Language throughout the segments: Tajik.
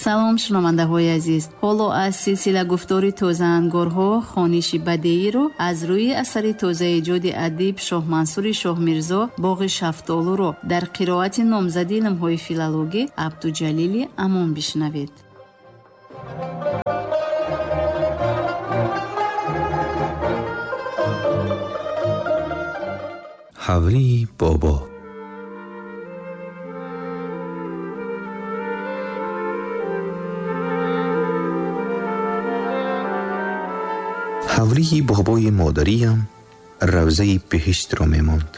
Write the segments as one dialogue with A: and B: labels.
A: Салом, шунавандаҳои азиз. Ҳоло аз силсила гуфтори тозаангорҳо хониши бадеиро аз рӯи асари тозаэҷоди адиб Шоҳмансури Шоҳмирзо «Боғи шафтолуро» дар қироати номзади илмҳои филологӣ Абдуҷалили Амон бишнавед.
B: Ҳавлии бобо. Ҳавлии бобои модариям равзаи биҳиштро мемонд.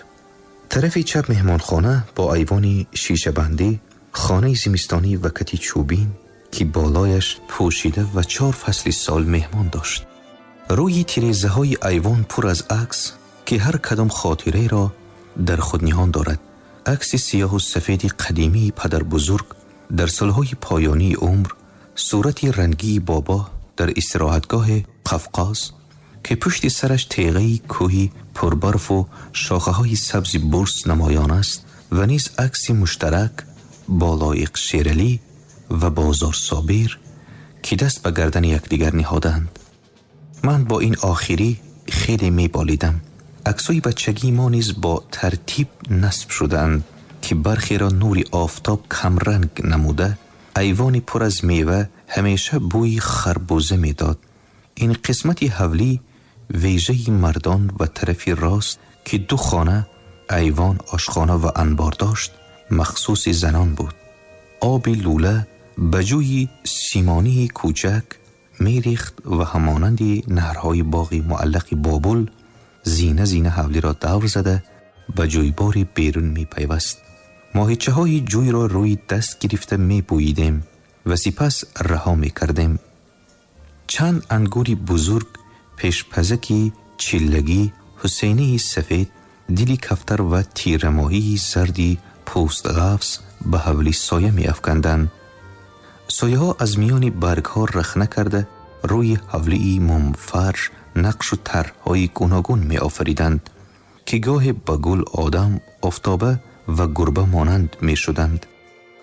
B: Тарафи чап меҳмонхона бо айвони шишабандӣ, хонаи зимистонӣ ва кати чӯбин, ки болояш пӯшида ва 4 фасли сол меҳмон дошт. Рӯи тирезаҳои айвон пур аз акс, ки ҳар кадом хотираеро дар худ ниҳон дорад. Акси сиёҳу сафеди қадимии падарбузург дар солҳои поёнии умр, сурати рангии бобо дар истироҳатгоҳи Қафқоз, ки пушти сараш теғаи кӯҳи пурбарфу шохаҳои сабзи бурс намоён аст, ва низ акси муштарак бо Лоиқ Шералӣ ва Бозор Собир, ки даст ба гардани якдигар ниҳоданд. Ман бо ин охирӣ хеле меболидам. Аксҳои бачагии мо низ бо тартиб насб шудаанд, ки бархеро нури офтоб камранг намуда, айвони пур аз мева ҳамеша бӯи харбуза медод. Ин қисмати ҳавлӣ вежаи мардон ва тарафи рост, ки 2 хона, айвон, ошхона ва анбор дошт, махсуси занон буд. Оби лӯла ба ҷӯи симонии кӯчак мерехт ва ҳамонанди наҳрҳои боғи муаллақи Бобул зина зина ҳавлиро давр зада ба ҷӯйбори берун мепайваст. Моҳичаҳои ҷӯйро рӯи даст гирифта мебӯидем ва сипас раҳо мекардем. Чанд ангури бузург, пешпазаки чиллагӣ, ҳусайнии сафед, дили кафтар ва тирамоҳии зарди пӯстғафс ба ҳавлӣ соя меафканданд. Сояҳо аз миёни баргҳо рахна карда рӯи ҳавлии мумфарш нақшу тарҳҳои гуногун меофариданд, ки гоҳе ба гул, одам, офтоба ва гурба монанд мешуданд.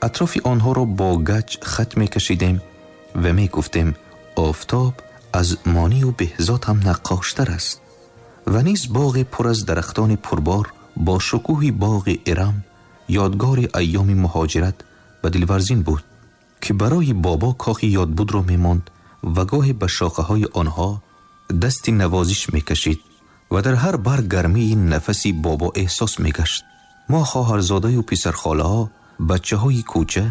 B: Атрофи онҳоро бо гач хат мекашидем ва мегуфтем офтоб аз монию беҳзод ҳам наққоштар аст. Ва низ боғе пур аз дарахтони пурбор бо шукӯҳи боғи Ирам, ёдгори айёми муҳоҷират ба дилварзин буд, ки барои бобо кохи ёдбудро мемонд ва гоҳе ба шохаҳои онҳо дасти навозиш мекашид ва дар ҳар барг гармии нафаси бобо эҳсос мегашт. Мо хоҳарзодаю писархолаҳо, бачаҳои кӯча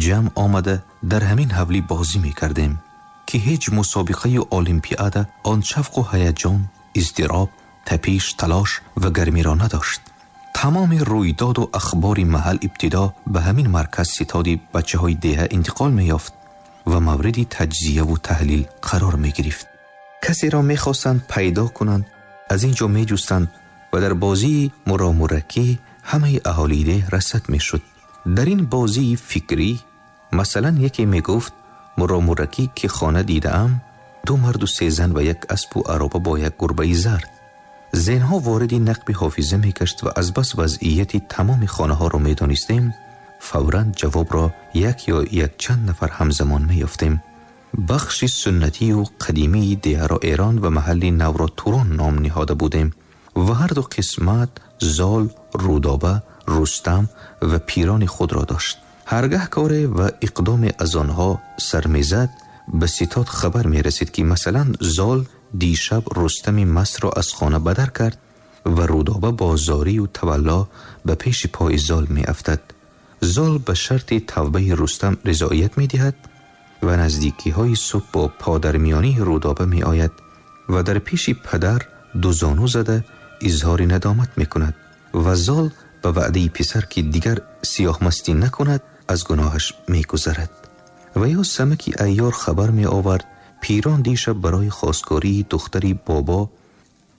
B: ҷамъ омада дар ҳамин ҳавлӣ бозӣ мекардем, ки ҳеҷ мусобиқаи олимпиада он шавқу ҳаяҷон, издироб, тапиш, талош ва гармиро надошт. Тамоми рӯйдоду ахбори маҳал ибтидо ба ҳамин марказ ситоди бачаҳои деҳа интиқол меёфт ва мавриди таҷзияву таҳлил қарор мегирифт. Касеро мехостанд пайдо кунанд, аз ин ҷо меҷустанд ва дар бозии муромуракӣ ҳамаи аҳолии деҳ расад мешуд. Дар ин бозии фикрӣ масалан яке мегуфт муромуракӣ ки хона дидаам, 2 марду 3 зан ва як аспу ароба бо як гурбаи зард. Зеҳнҳо вориди нақби ҳофиза мегашт ва аз бас вазъияти тамоми хонаҳоро медонистем, фавран ҷавобро як ё якчанд нафар ҳамзамон меёфтем. Бахши суннатию қадимии деҳаро Эрон ва маҳалли навро Турон ном ниҳода будем ва ҳар ду қисмат Зол, Рӯдоба, Рустам ва пирони худро дошт. Ҳаргаҳ коре ва иқдоме аз онҳо сар мезад, ба ситод хабар мерасид, ки масалан Зол дишаб Рустами масро аз хона бадар кард ва Рӯдоба бо зорию тавалло ба пеши пои Зол меафтад. Зол ба шарти тавбаи Рустам ризоият медиҳад ва наздикиҳои субҳ бо подармиёнии Рӯдоба меояд ва дар пеши падар дузону зада изҳори надомат мекунад ва Зол ба ваъдаи писар, ки дигар сиёҳмастӣ накунад, аз гуноҳаш мегузарад. Ва ё самаки айёр хабар меовард пирон дишаб барои хостгории духтари бобо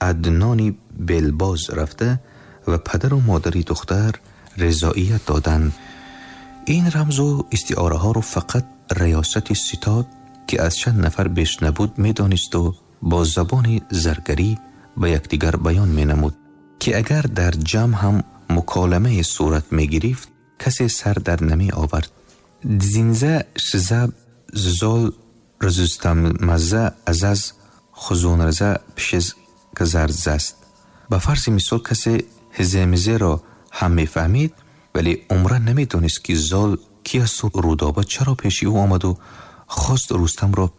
B: Аднони белбоз рафта ва падару модари духтар ризоият доданд. Ин рамзу истиораҳоро фақат риёсати ситод, ки аз чанд нафар беш набуд, медонисту бо забони заргарӣ ба якдигар баён менамуд, ки агар дар ҷамъ ҳам муколамае сурат мегирифт, касе сар дар намеовард. Дзинза шизаб зол рузустамаза азаз хузунраза пшиз казарзаст. Ба фарзи мисол, касе ҳиземизеро ҳам мефаҳмид, вале умран намедонист, ки Зол ки асту Рудоба чаро пеши ӯ омаду хост Рустамро